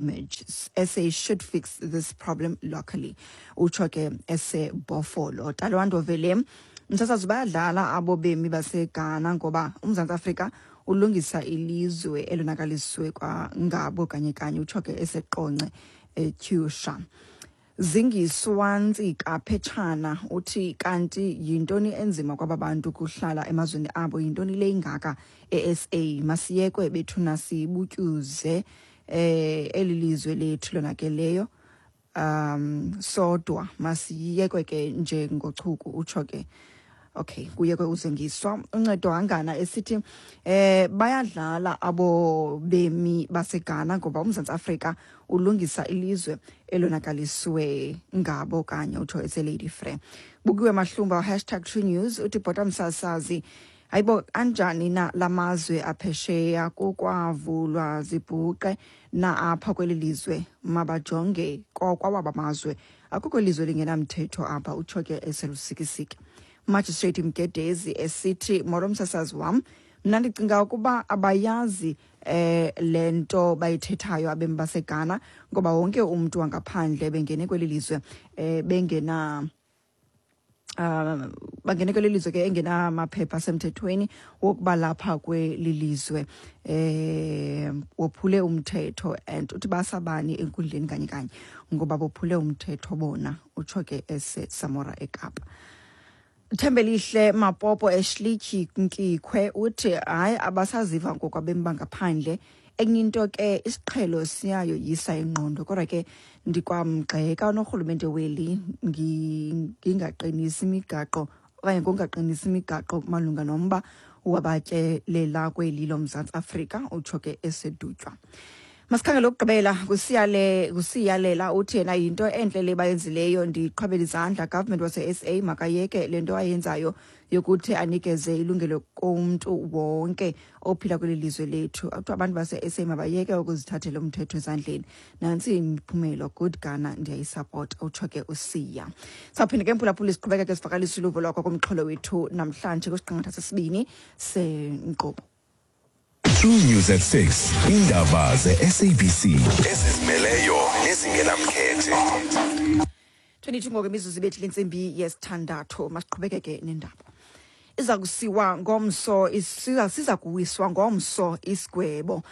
Damage. SA should fix this problem locally, utsho ke eseBhofolo. Talwando Vele msasazi, bayadlala abo bemi baseGhana ngoba uMzantsi Afrika ulungisa ilizwe elonakaliswe kwangabo kanye kanye, utsho ke eseQonce eTyusha. Zingiswa Ntsika Phetshana uthi kanti yintoni enzima kwaba bantu kuhlala emazweni abo? Yintoni le ingaka e-SA? Masiyekwe bethuna sibutyuze eli lizwe lethu lonakeleyo sodwa, masiyekwe ke njengochuku, utsho ke. Okay, kuyekwe uZingiswa. Uncedo Hangana esithi bayadlala abo bemi baseGhana ngoba uMzantsi Afrika ulungisa ilizwe elonakaliswe ngabo kanye, utsho eseLady Frere. Bukiwe Mahlumba #TrueNews uthi bhota msasazi, hayibo, anjani na lamazwe aphesheya? Kukwavulwa zibhuqe na apha kweli lizwe? Mabajonge kwawaba mazwe, akukho lizwe lingenamthetho apha, utsho ke eseLusikisiki. Magistrate Mgedezi esithi molo msasazi wam, mna ndicinga ukuba abayazi le nto bayithethayo abemi baseGhana ngoba wonke umntu wangaphandle bengene kweli lizwe bengena bangene kweli lizwe ke engenamaphepha asemthethweni wokuba lapha kweli lizwe wophule umthetho, and uthi basabani enkundleni kanye kanye ngoba bophule umthetho bona, utsho ke eseSamora eKapa. Thembelihle Mapopo eShlityhi Nkikhwe uthi hayi, abasaziva ngoku abemi bangaphandle. Enye into ke, isiqhelo siyayoyisa ingqondo, kodwa ke ndikwamgxeka unorhulumente weli ngingaqinisi imigaqo okanye ngokungaqinisi imigaqo malunga nomba wabatyelela kweli loMzantsi Afrika, utsho ke eseDutywa. Masikhangele okugqibela kusiyale kusiyalela uthi yena yinto entle le bayenzileyo, ndiqhwabela izandla. Government wase-SA makayeke le nto ayenzayo yokuthi anikeze ilungelo kumntu wonke ophila kweli lizwe lethu. Kuthiwa abantu base-SA mabayeke ukuzithathela umthetho ezandleni, nantsi imiphumelo. Good Ghana, ndiyayisapota, utsho ke uSiya. Sawuphinde ke mphulaphula siqhubekeke sivakalisa uluvo lwakho kumxholo wethu namhlanje kwisiqingatha sesibini senkqubo. True News at 6. Indaba ze-SABC ezizimeleyo nezingenamkhethe. 22 ngoku imizuzu ibethile intsimbi yesithandathu. Masiqhubekeke nendaba. Iza kusiwa ngomso, siza kuwiswa ngomso isigwebo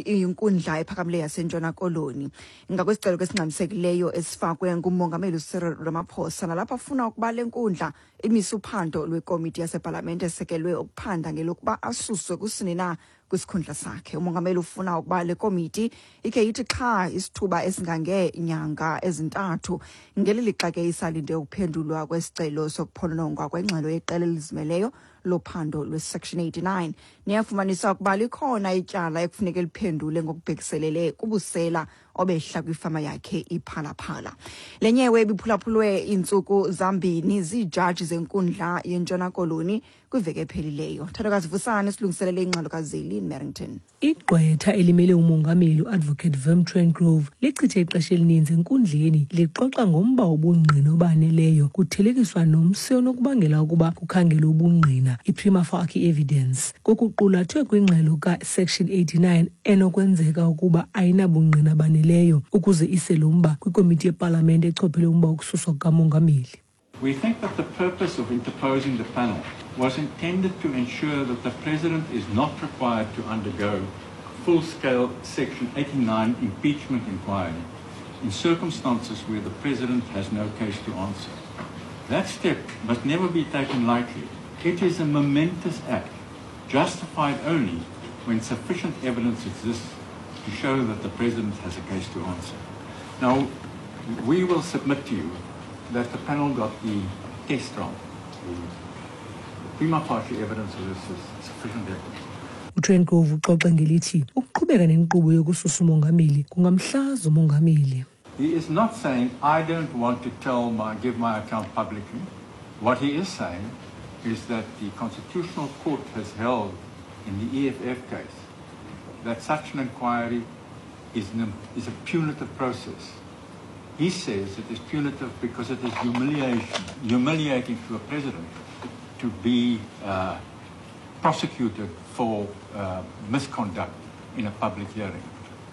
inkundla ephakamileyo yaseNtshona Koloni ngakwesicelo kesingxamisekileyo esifakwe ngumongameli uCyril Ramaphosa, nalapho afuna ukuba le nkundla imise uphando lwekomiti yasepalamente esekelwe ukuphanda ngelokuba asuswe kusini na kwisikhundla sakhe. Umongameli ufuna ukuba le komiti ikhe ithi xha isithuba esingangeenyanga ezi-3, ngeli lixa ke isalinde ukuphendulwa kwesicelo sokuphononongwa kwengxelo yeqela elizimeleyo lophando lwe-Section 89 neyafumanisa ukuba likhona ityala ekufuneka liphendule ngokubhekiselele kubusela obehla kwifama yakhe iPhalaphala. Le nyewe ibiphulaphulwe iintsuku zambini ziijaji zenkundla yeNtshona Koloni kwiveki ephelileyo. Thandokazi Vusane silungiselele ingxelo kaZelin Merrington. Igqwetha elimele umongameli uAdvocate Wim Trengove lichithe ixesha elininzi enkundleni lixoxa ngomba wobungqina obaneleyo kuthelekiswa nomsi onokubangela ukuba kukhangelwe ubungqina, i-prima facie evidence, kokuqulathwe kwingxelo ka-Section 89 enokwenzeka ukuba ayinabungqina baneleyo ukuze ise lo mba kwikomiti yepalamente echophele umba wokususwa kukamongameli. We think that the purpose of interposing the panel was intended to ensure that the President is not required to undergo full-scale Section 89 impeachment inquiry in circumstances where the President has no case to answer. That step must never be taken lightly. It is a momentous act, justified only when sufficient evidence exists to show that the President has a case to answer. Now, we will submit to you that the panel got the test wrong. The prima facie evidence of this is sufficient evidence. UTrengove uxoxe ngelithi ukuqhubeka nenkqubo yokususa umongameli kungamhlaza umongameli. He is not saying, "I don't want to give my account publicly." What he is saying is that the Constitutional Court has held in the EFF case that such an inquiry is a punitive process. He says it is punitive because it is humiliating to a president to be prosecuted for misconduct in a public hearing.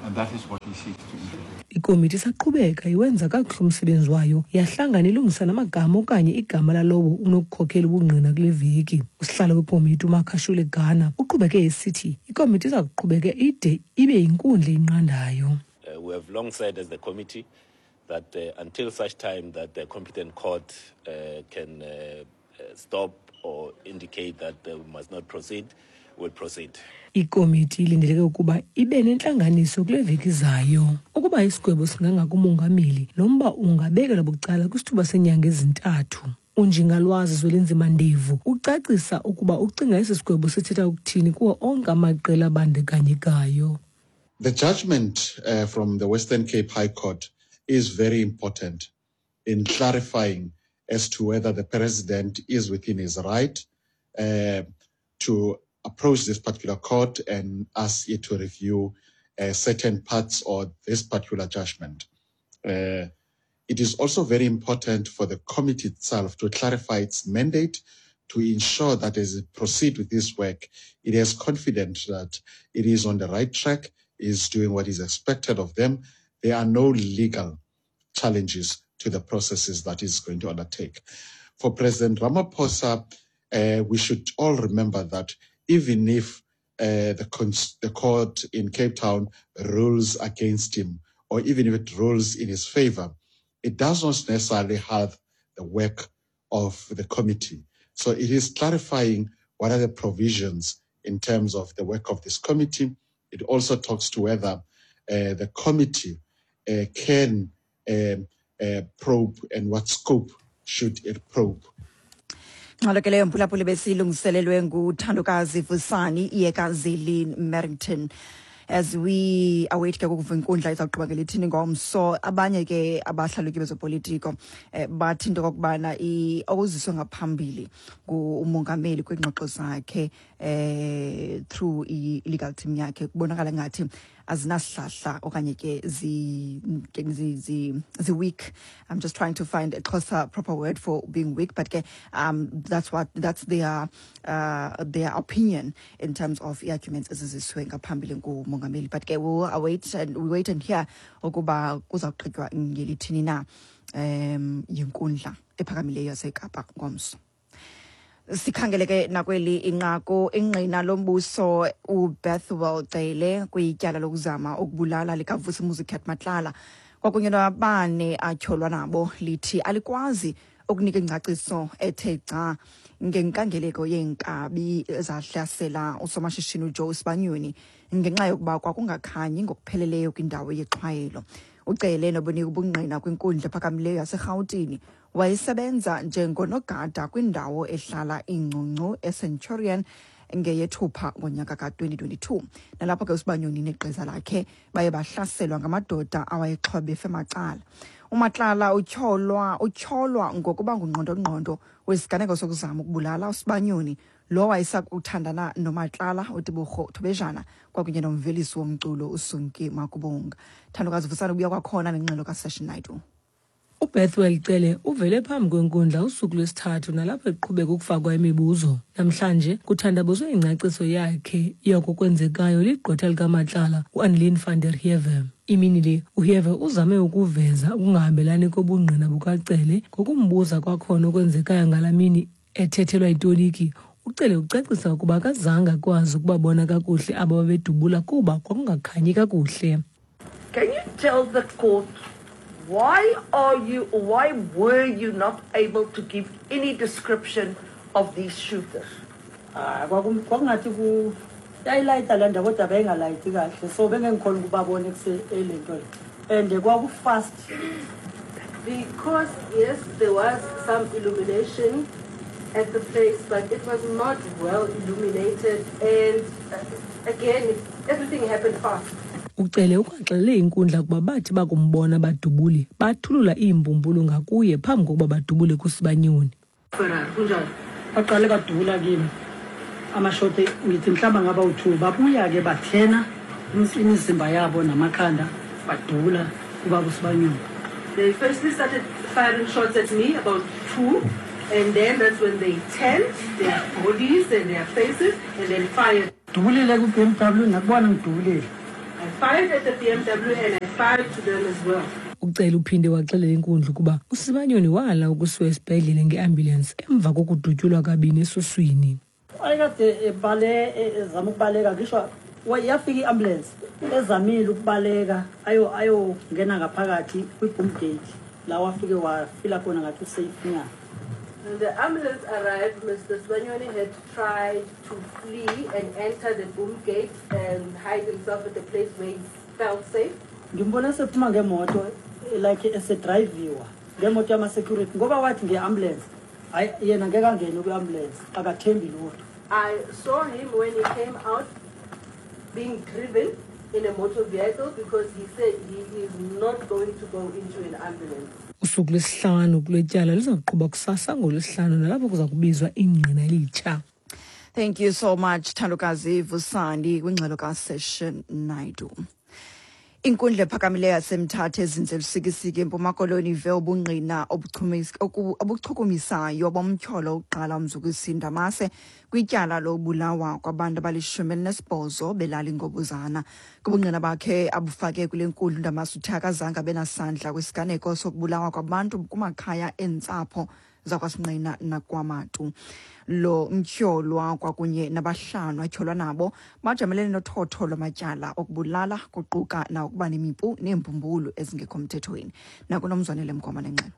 And that is what he seeks to introduce. Ikomiti isaqhubeka iwenza kakuhle umsebenzi wayo, yahlangana ilungisa namagama okanye igama lalowo unokukhokela ubungqina kule veki. Usihlalo wekomiti uMakashule Gana uqhubeke esithi ikomiti iza kuqhubeka ide ibe yinkundla eyinqandayo. We have long said as the committee that until such time that the competent court can stop or indicate that we must not proceed, we'll proceed. Ikomiti ilindeleke ukuba ibe nentlanganiso kule veki izayo. Ukuba isigwebo singangakumongameli, lo mba ungabekelwa bucala kwisithuba seenyanga ezintathu. Unjingalwazi Zwelinzima Ndevu ucacisa ukuba ucinga esi sigwebo sithetha ukuthini kuwo onke amaqela abandakanyekayo. The judgment from the Western Cape High Court is very important in clarifying as to whether the president is within his right to approach this particular court and ask it to review certain parts or this particular judgment. It is also very important for the committee itself to clarify its mandate to ensure that as it proceeds with this work, it is confident that it is on the right track, is doing what is expected of them. There are no legal challenges to the processes that is going to undertake. For President Ramaphosa, we should all remember that even if the court in Cape Town rules against him, or even if it rules in his favor, it does not necessarily have the work of the committee. So it is clarifying what are the provisions in terms of the work of this committee. It also talks to whether the committee can probe and what scope should it probe. Ngxelo ke leyo, mphulaphuli, besilungiselelwe nguThandokazi Vusani Iyekazili Merrington. As we await ke ukuva inkundla izawugqiba ngelithini ngomso, abanye ke abahlalutyi bezopolitiko bathi into okokubana okuziswe ngaphambili ngumongameli kwiingxoxo zakhe through i-legal team yakhe kubonakala ngathi azinasihlahla okanye ke zi weak. I'm just trying to find a Xhosa proper word for being weak, but ke that's their opinion in terms of i-arguments eziziswe ngaphambili ngumongameli. But ke we'll await and we wait and hear ukuba kuzawugqitywa ngelithini na yinkundla ephakamileyo yaseKapa ngomso. Sikhangele ke nakweli inqaku, ingqina lombuso uBethwell Cele kwityala lokuzama ukubulala likaVusimuzi Cat Matlala kwakunye nabane atyholwa nabo lithi alikwazi ukunika ingcaciso ethe gca ngenkangeleko yeenkabi ezahlasela usomashishini uJoe Sibanyoni ngenxa yokuba kwakungakhanyi ngokupheleleyo kwindawo yexhwayelo. UCele, nobunika ubungqina kwinkundla ephakamileyo yaseRhawutini, wayesebenza njengonogada kwindawo ehlala iingcungcu eCenturion ngeyeThupha ngonyaka ka-2022, nalapho ke uSibanyoni negqiza lakhe baye bahlaselwa ngamadoda awayexhobe macala. UMatlala utyholwa ngokuba ngungqondongqondo wesiganeko sokuzama ukubulala uSibanyoni, lo wayesakuthandana noMatlala, uTebogo Thobejane, kwakunye nomvelisi womculo uSunki Makubunga. Thandokazi Vusana ubuya kwakhona nengxelo kaSession Naidu. UBethwell Cele uvele phambi kwenkundla usuku lwesithathu nalapho eqhubeka ukufakwa imibuzo. Namhlanje kuthandabuzwe ingcaciso yakhe yoko kwenzekayo ligqwetha likaMatlala uAnneline van der Heever. Imini le uHeever uzame ukuveza ukungahambelani kobungqina bukaCele ngokumbuza kwakhona okwenzekayo ngalaa mini ethethelwa itoliki. UCele ucacisa ukuba akazange akwazi ukubabona kakuhle abo babedubula kuba kwakungakhanyi kakuhle. Can you tell the court why are you or why were you not able to give any description of these shooters? Hayi, kwakungathi ku yayilayita le ndawo kodwa beyingalayiti kahle, so bengengikhona ukubabona elento le and kwaku-fast. Because, yes, there was some illumination at the place, but it was not well illuminated. And again, everything happened fast. Ucele ukwaxelele inkundla ukuba bathi bakumbona badubuli bathulula iimbumbulu ngakuye phambi kokuba badubule kuSibanyoni. Kunjalo. Baqale badubula kimi amashoti, ngithi mhlawumbe ngaba u-two, babuya-ke bathena imizimba yabo namakhanda, badubula ubaba uSibanyoni. They firstly started firing shots at me, about two, and then that's when they turned their bodies and their faces and then fired. Dubulile ku-BMW, nakubona ngidubulile. I fired at the BMW and I fired to them as well. Ucele uphinde waxelela inkundla ukuba uSibanyoni wala ukusiwa esibhedlele ngeambulensi emva kokudutyulwa kabini esuswini. Wayekade ebale ezama ukubaleka, ngisho yafika i-ambulance ezamile ukubaleka ayongena ngaphakathi kwi-boom gate la wafike wafila khona ngathi usafe nyana. When the ambulance arrived, Mr. Sibanyoni had tried to flee and enter the boom gate and hide himself at the place where he felt safe. Ngimbone sephuma ngemoto like esedrayiviwa ngemoto yama-security ngoba wathi nge-ambulance, hayi yena ngeke angene kwi-ambulance, akathembi lutho. I saw him when he came out being driven in a motor vehicle because he said he is not going to go into an ambulance. Usuku lwesihlanu kule tyala liza kuqhuba kusasa ngolwesihlanu nalapho kuza kubizwa ingqina elitsha. Thank you so much, Thandokazi Vusani, kwingxelo kaSession Naidu. Inkundla ephakamileyo yaseMthatha ezinze Lusikisiki eMpuma Koloni ive ubungqina obuchukumisayo bomtyholo uqala uMzukisi Ndamase kwityala lobulawa kwabantu abali-18 belali Ngobuzana. Kubungqina bakhe abufake kule nkundla, uNdamase uthe akazange abe nasandla kwisiganeko sokubulawa kwabantu kumakhaya eentsapho zakwaSinqina nakwaMatu. Lo mtyholwa kwakunye nabahlanu atyholwa nabo bajamelene nothotho lwamatyala okubulala, kuquka nawokuba nemipu neembumbulu ezingekho mthethweni. Nakunomzwanele Mgoma nengxelo.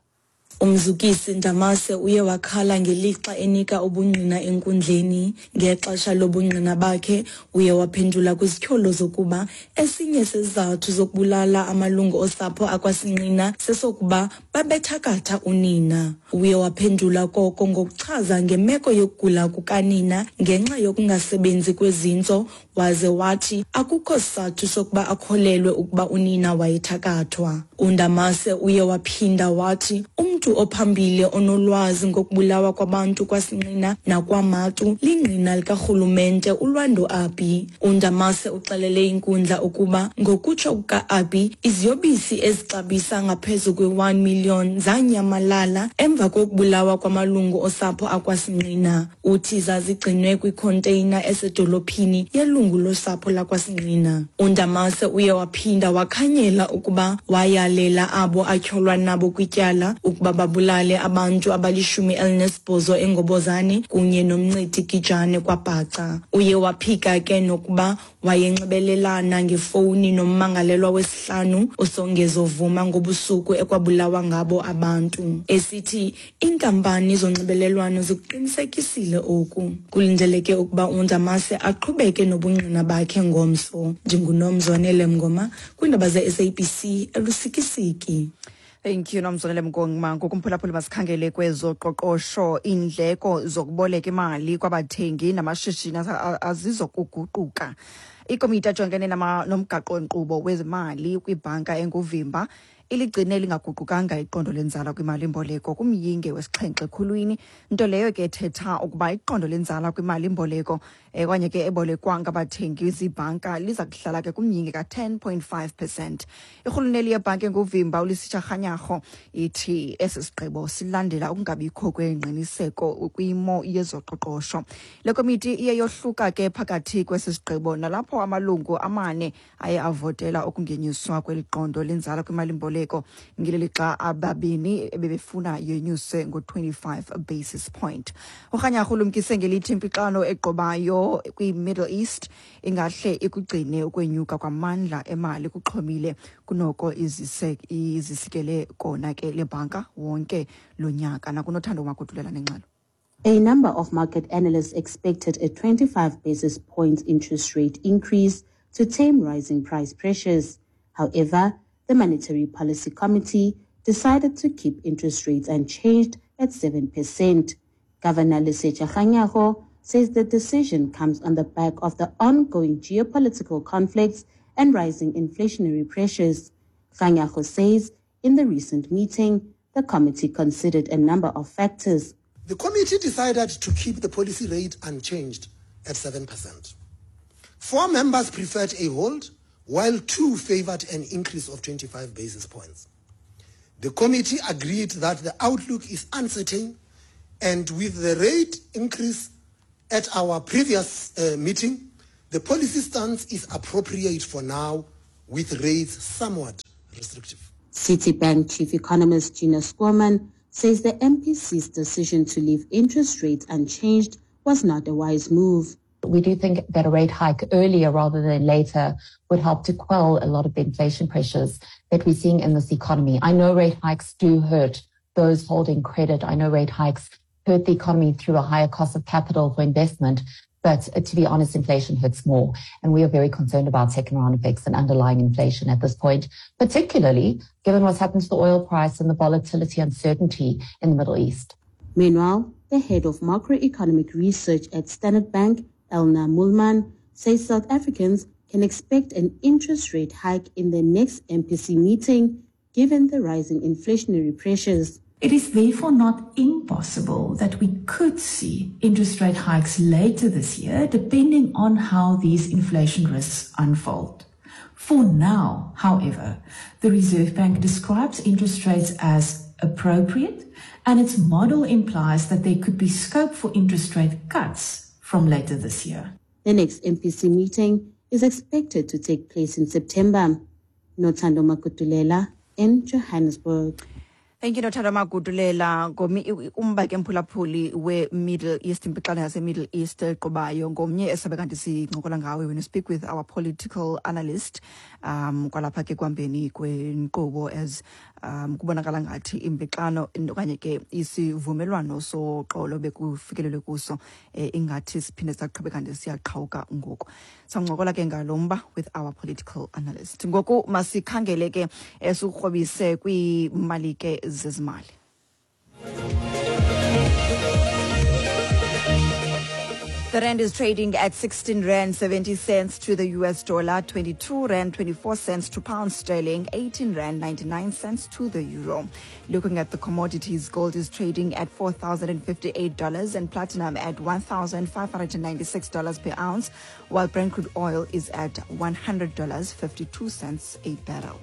Umzukisi Ndamase uye wakhala ngelixa enika ubungqina enkundleni. Ngexesha lobungqina bakhe uye waphendula kwizityholo zokuba esinye sezizathu zokubulala amalungu osapho akwaSinqina sesokuba babethakatha unina. Uye waphendula koko ngokuchaza ngemeko yokugula kukanina ngenxa yokungasebenzi kwezintso, waze wathi akukho sizathu sokuba akholelwe ukuba unina wayethakathwa. UNdamase uye waphinda wathi umntu ophambili onolwazi ngokubulawa kwabantu kwaSinqina nakwaMatu lingqina likarhulumente uLwando Abi. UNdamase uxelele inkundla ukuba ngokutsho kuka-Abi, iziyobisi ezixabisa ngaphezu kwe-1 million zanyamalala emva kokubulawa kwamalungu osapho akwaSinqina. Uthi zazigcinwe kwikhonteyina esedolophini yelungu losapho lakwaSinqina. UNdamase uye waphinda wakhanyela ukuba wayalela abo atyholwa nabo kwityala ukuba babulale abantu abali-18 eNgobozane kunye noMncedi Gijane kwaBhaca. Uye waphika ke nokuba wayenxibelelana ngefowuni nommangalelwa wesihlanu uSongezo Vuma ngobusuku ekwabulawa ngabo abantu, esithi iinkampani zonxibelelwano zikuqinisekisile oku. Kulindeleke ukuba uNdamase aqhubeke nobungqina bakhe ngomso. Ndingunomzwanele Mngoma kwiindaba ze-SABC eLusikisiki. Thank you, Nomzwanele Mngoma. Ngokumphulaphula, masikhangele kwezoqoqosho. Iindleko zokuboleka imali kwabathengi namashishini azizokuguquka. Ikomiti ejongene nomgaqo-nkqubo wezimali kwibhanka enguvimba iligcine lingaguqukanga iqondo lenzala kwimali-mboleko kumyinge wesixhenxe ekhulwini, nto leyo ke ethetha ukuba iqondo lenzala kwimali-mboleko okanye ke ebolekwa ngabathengi ziibhanka liza kuhlala ke kumyinge ka-10.5%. Irhuluneli yebhanki enguvimba uLesetja Kganyago ithi esi sigqibo silandela ukungabikho kwengqiniseko kwimo yezoqoqosho. Le komiti iye yohluka ke phakathi kwesi sigqibo, nalapho amalungu amane aye avotela ukungenyuswa kweli qondo lenzala kwimali-mboleko, ngeli lixa ababini ebebefuna yenyuse ngo-25 basis point. UKganyago ulumkise ngelithi impixano egqobayo kwi-Middle East ingahle ikugcine ukwenyuka kwamandla emali kuxhomile kunoko izise izisikele kona ke le bhanka wonke lo nyaka. Nakunothando Magudulela nengxelo. A number of market analysts expected a 25 basis points interest rate increase to tame rising price pressures. However, the Monetary Policy Committee decided to keep interest rates unchanged at 7%. Governor Lesetja Kganyago says the decision comes on the back of the ongoing geopolitical conflicts and rising inflationary pressures. Kganyago says in the recent meeting, the committee considered a number of factors. The committee decided to keep the policy rate unchanged at 7%. 4 members preferred a hold, while 2 favored an increase of 25 basis points. The committee agreed that the outlook is uncertain, and with the rate increase at our previous meeting, the policy stance is appropriate for now. with rates somewhat restrictive. Citibank chief economist Gina Squirman says the MPC's decision to leave interest rates unchanged was not a wise move. We do think that a rate hike earlier rather than later would help to quell a lot of the inflation pressures that we're seeing in this economy. I know rate hikes do hurt those holding credit. I know rate hikes hurt the economy through a higher cost of capital for investment. But to be honest, inflation hurts more. And we are very concerned about second round effects and underlying inflation at this point, particularly given what's happened to the oil price and the volatility uncertainty in the Middle East. Meanwhile, the head of macroeconomic research at Standard Bank, Elna Mulman, says South Africans can expect an interest rate hike in the next MPC meeting, given the rising inflationary pressures. It is therefore not impossible that we could see interest rate hikes later this year, depending on how these inflation risks unfold. For now, however, the Reserve Bank describes interest rates as appropriate, and its model implies that there could be scope for interest rate cuts from later this year. The next MPC meeting is expected to take place in September. Nothando Makutulela in Johannesburg. Thank you, Nothando Magudulela. Ngomi umba ke mphulaphuli we-Middle East, impixano yase-Middle East eqhubayo ngomnye esabe kanti sincokola ngawe when you speak with our political analyst kwalapha ke kuhambeni kwenkqubo as kubonakala ngathi impixano okanye ke isivumelwano soxolo bekufikelelwe kuso ingathi siphinde saqhube kanti siyaqhawuka ngoku. Sancokola ke ngalo mba with our political analyst. Ngoku masikhangele ke sikrobise kwiimali ke zezimali. The rand is trading at 16 rand 70 cents to the US dollar, 22 rand 24 cents to pound sterling, 18 rand 99 cents to the euro. Looking at the commodities, gold is trading at $4,058 and platinum at $1,596 per ounce, while Brent crude oil is at $100.52 a barrel.